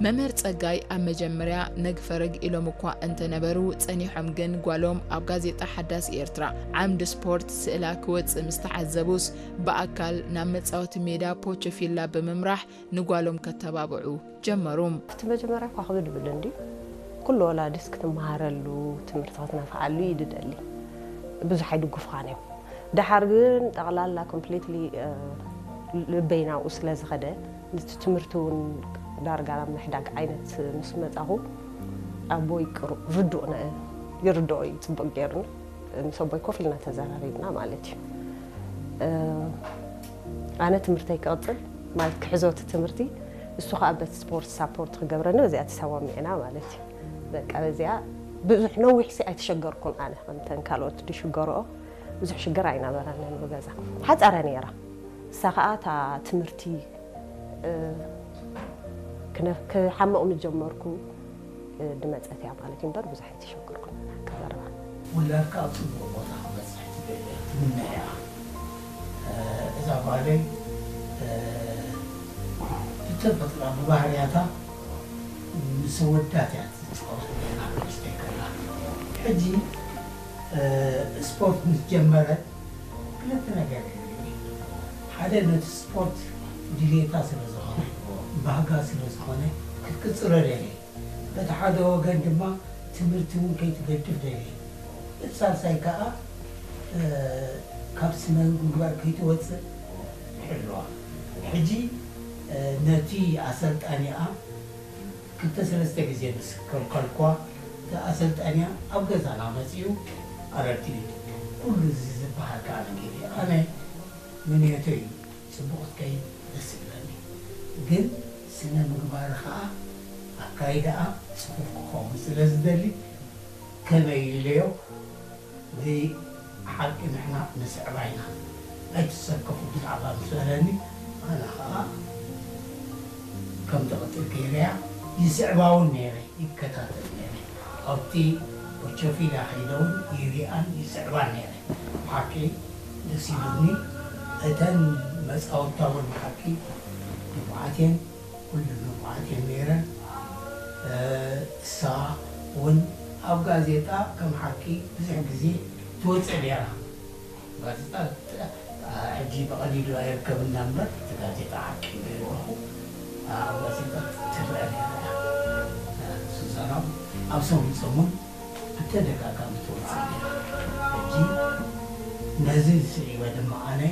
መምህር ጸጋይ ኣብ መጀመርያ ነግፈረግ ኢሎም እኳ እንተነበሩ፣ ጸኒሖም ግን ጓሎም ኣብ ጋዜጣ ሓዳስ ኤርትራ ዓምዲ ስፖርት ስእላ ክወጽእ ምስ ተዓዘቡስ፣ ብኣካል ናብ መጻወቲ ሜዳ ፖቸፊላ ብምምራሕ ንጓሎም ከተባብዑ ጀመሩ። እቲ መጀመርያ እኳ ክብድ ብል እንድዩ። ኩሉ ወላዲስ ክትመሃረሉ፣ ትምህርቲ ክትነፍዓሉ እዩ ድደሊ። ብዙሕ ኣይድግፉኻን እዮም። ደሓር ግን ጠቕላላ ኮምፕሊትሊ ልበይ ናብኡ ስለ ዝኸደ፣ ነቲ ትምህርቲ እውን ዳርጋ ናብ ምሕዳግ ዓይነት ምስ መጻኹ፣ ኣቦይ ቅሩ-፣ ርዱእ ነ-፣ ይርድኦ እዩ ጽቡቕ ገይሩኒ። ምስ ኣቦይ ኮፍ ኢልና ተዘራሪብና ማለት እዩ። እ፣ ኣነ ትምህርተይ ክቕጽል ማለት ክሕዞ እቲ ትምህርቲ፣ እሱ ኸኣ በቲ ስፖርት ሳፖርት ክገብረኒ በዚኣ ተሰማሚዕና ማለት እዩ። በቃ በዚኣ ብዙሕ ነዊሕ ሲ ኣይተሸገርኩን ኣነ ከምተን ካልኦት ዝሽገርኦ ብዙሕ ሽግር ኣይነበረንን ብገዛ። ሓጻረ ነይራ። እሳ ኸኣ እታ ትምህርቲ፣ እ፣ ክነ-፣ ክሓምቕ ምስ ጀመርኩ፣ እ፣ ድመጸት እያ ማለት እዩ እምበር ብዙሕ ኣይተሸገርኩን ኣነ ክዛረባ። ውላድካ ኣብ ጽቡቕ ቦታ ክበጽሕ ትደሊ እያ፣ ትምነ እያ። እ፣ እዛ ጓለይ፣ እ፣ ብተፈጥራ ብባህርያታ ምስ ኣወዳት እያ ትጻወት ነይራ ንእሽተይ ከላ። ሕጂ፣ እ፣ ስፖርት ምስ ጀመረት ክልተ ነገር እዩ። ሓደ ነቲ ስፖርት ድሌታ ስለ ዝኾነ፣ ባህጋ ስለ ዝኾነ ክትቅጽሎ ደልየ። በቲ ሓደ ወገን ድማ ትምህርቲ እውን ከይትገድፍ ደልየ። እቲ ሳልሳይ ከኣ፣ እ፣ ካብ ስነ ምግባር ከይትወጽእ ይሕልዋ። ሕጂ፣ እ፣ ነቲ ኣሰልጣኒኣ ክልተ ሰለስተ ግዜ ምስ ከልከልኳ፣ እቲ ኣሰልጣኒኣ ኣብ ገዛና መጺኡ ኣረዲኡ። ኩሉ እዚ ዝበሃል ከኣ ነጊሩ። ኣነ ምንዮተይ እዩ ጽቡቕ ክትከይድ ደስ ይብለኒ። ግን ስነ ምግባር ከኣ ኣካይዳኣ ጽፉፍ ክኸውን ስለ ዝደሊ፣ ከመይ ኢለዮ ብሓቂ ንሕና ንስዕባ ኢና፣ ኣይትሰከፉ ብዛዕባ ምስ በለኒ፣ ኣነ ኸኣ ከም ትቕጽል ገይረያ ይስዕባ እውን ነይረ፣ ይከታተል ነይረ። ኣብቲ ኦቾፊላ ከይደ እውን ይሪኣን ይስዕባን ነይረ። ብሓቂ ደስ ኢሉኒ። እተን መጻወትታ እውን ብሓቂ ንፉዓት እየን። ኩሉ ንፉዓት እየን ነይረን። እ፣ እሳ እውን ኣብ ጋዜጣ ከም ሓቂ ብዙሕ ግዜ ትወጽእ ነይራ። ጋዜጣ፣ እ፣ ሕጂ ብቐሊሉ ኣይርከብና እምበር፣ እቲ ጋዜጣ ሓቂ ይብለኹ፣ ኣብ ጋዜጣ ትረአ ነይራ እያ። እ፣ ሱዛና ኣብ ሰሙን ሰሙን ብተደጋጋሚ ትወጽእ ነይራ። ሕጂ ነዚ ስዒበ ድማ ኣነ